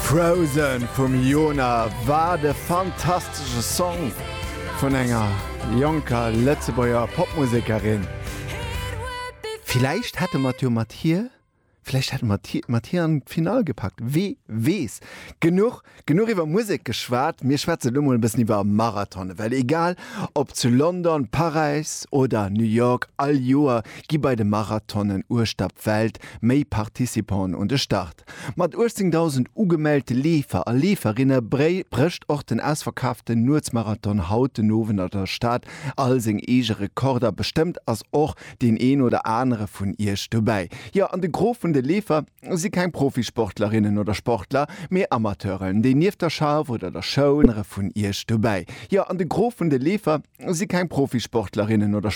Frozen vum Jona, wat e fantastesche Song vun enger jonker Lëtzebuerger Popmusekerin. Villäicht hätte mer et jo mat hir, villäicht hätte mer et mat hir an d'Finall gepackt, wee weess. Genuch, genuch iwwer Musek geschwat, mir schwätzen elo mol e bëssen iwwer Marathonen, well egal ob zu London, Paräis oder New York, all Joer gi bei de Marathonen uechter d'Welt méi Participanten un de Start. Mat 18.000 ugemellte Leefer a Leeferinne brécht och den ausverkaaften Nuetsmarathon haut den Owend an der Stad all seng eege Rekorder. Bestëmmt ass och deen een oder anere vun iech dobäi. Jo, an de Gros vun de Leefer si keng Profisportlerinnen oder Sportler, mee Amateuren, déi nieft der Schaff oder der Schoul. Vun iech dobäi. Jo, an de Gros vun de Leefer si keng Profisportlerinnen oder.